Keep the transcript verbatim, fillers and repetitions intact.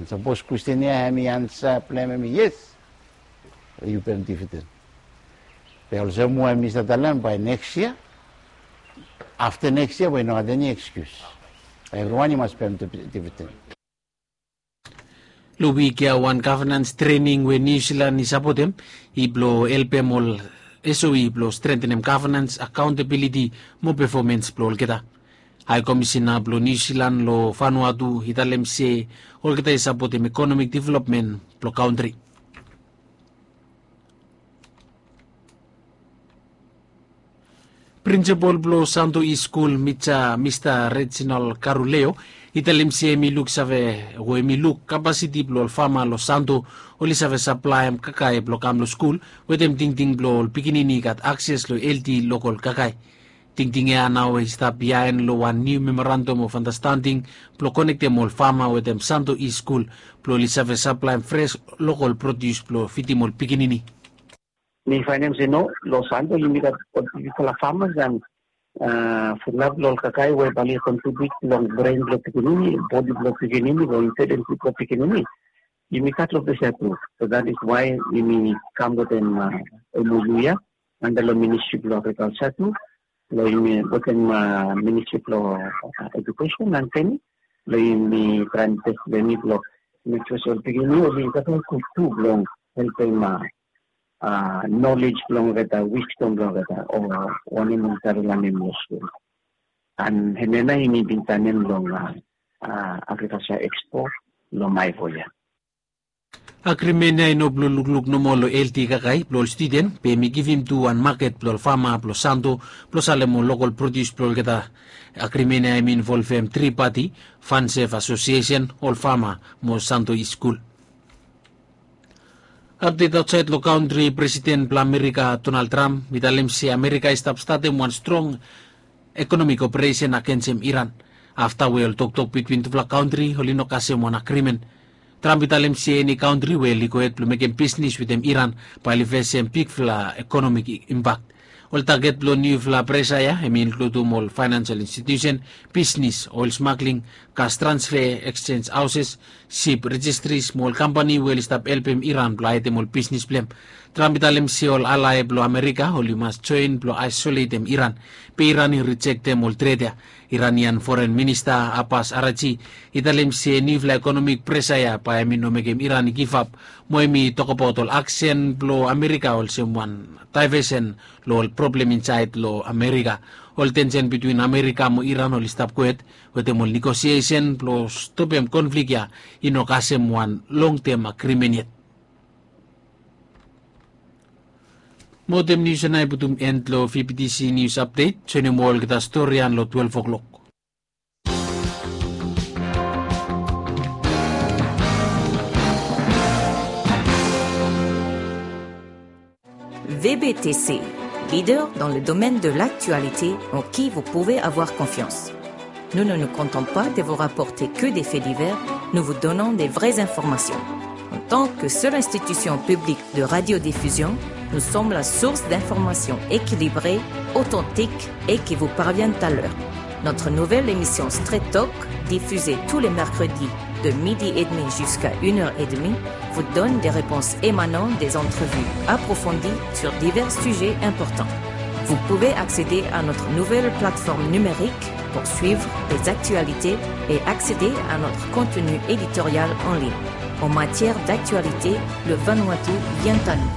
Sapos kwestin ya hemi ansa blong hem hemi yes, yu pem dividend. Be olsem we mi save talem bae neks yia, afta neks yia we i no gat eni ekskius. Evriwan i mas pem dividend. Long wik ya wan gavnans trening we Niu Silan i sapotem i blong helpem ol S O E blong strentenem gavnans, akaontabiliti mo pefomans blong olgeta. Hae Komisena blong Niu Silan long Vanuatu i talem se olgeta i sapotem ekonomik developmen blong kantri. Prinsipol blong Santo East Skul, Mista Reginald Caruleo, i talem se hemi luksave o hemi luk kapasiti blong ol fama long Santo oli save saplaem kakae blong kam long skul wetem tingting blong ol pikinini i gat akses long helti lokol kakae. Tingting ya nao i stap biaen long wan niu memorandum of andastanding blong konektem ol fama wetem Santo East Skul blong oli save saplaem fres lokol produs blong fidim ol pikinini. Mi faenem se no, long Santo yumi gat ol bigfala famas an fulap long ol kakae we bae oli kontribiut long bren blong pikinini, bodi blong pikinini, long intelijensi blong pikinini. Yumi gat long ples ya tu. So that is why yumi kam wetem M O U ya anda long Ministri blong Agrikalja tu, long yumi wetem Ministri blong Edukesen an training, long yumi traem tes blong yumi blong mek sua se ol pikinini oli gat ol gud tu blong helpem nolej blong olgeta, wisdom blong olgeta, o wanem oli save lanem long skul. An hemia nao yumi bin saenem long Agrikalja Ekspo long Maewo ya. Agrimen ya i no blong lukluk nomo long helti kakae blong ol studen, be hemi givim tu wan maket blong ol fama blong Santo blong salem ol lokol produs blong olgeta. Agrimen ya hemi involvem tri pati, Fansef Asosiesen, ol fama mo Santo East Skul. Apdet aotsaed long kantri, Presiden blong Amerika Donald Trump i talem se Amerika i stap statem wan strong ekonomik operesen agensem Iran afta we ol toktok bitwin tufala kantri oli no kasem wan agrimen. Trump i talem se eni kantri we oli gohed blong mekem bisnis wetem Iran bae oli fesem bigfala ekonomik impak. Ol taget blong niufala presa ya hemi inkludum ol faenansel institiusen, bisnis, oel smagling, gas transfe, eksenj haoses, sip rejistris mo ol kampani we oli stap helpem Iran blong haedem ol bisnis blong hem. Trump i talem se ol alae blong Amerika oli mas joen blong aesoletem Iran. Be Iran i rijektem ol tret ya. Iranian Foren Minista Abbas Arachi i talem se niufala ekonomik presa ya bae hemi no mekem Iran i givap, mo hemi tokbaot ol aksen blong Amerika olsem wan daevesen long ol problem insaed long Amerika. Ol tensen bitwin Amerika mo Iran oli stap gohed wetem ol negosiesen blong stopem konflik ya i no kasem wan longtem agrimen yet. Mo wetem nius ya nao i putum en long V B T C Nius Apdet. Joenem olgeta stori ya long twelef oklok. V B T C, leader dans le domaine de l'actualité en qui vous pouvez avoir confiance. Nous ne nous contentons pas de vous rapporter que des faits divers, nous vous donnons des vraies informations. En tant que seule institution publique de radiodiffusion, nous sommes la source d'informations équilibrées, authentiques et qui vous parviennent à l'heure. Notre nouvelle émission Straight Talk, diffusée tous les mercredis de midi et demi jusqu'à une heure et demie, vous donne des réponses émanant des entrevues approfondies sur divers sujets importants. Vous pouvez accéder à notre nouvelle plateforme numérique pour suivre les actualités et accéder à notre contenu éditorial en ligne. En matière d'actualité, le Vanuatu vient à nous.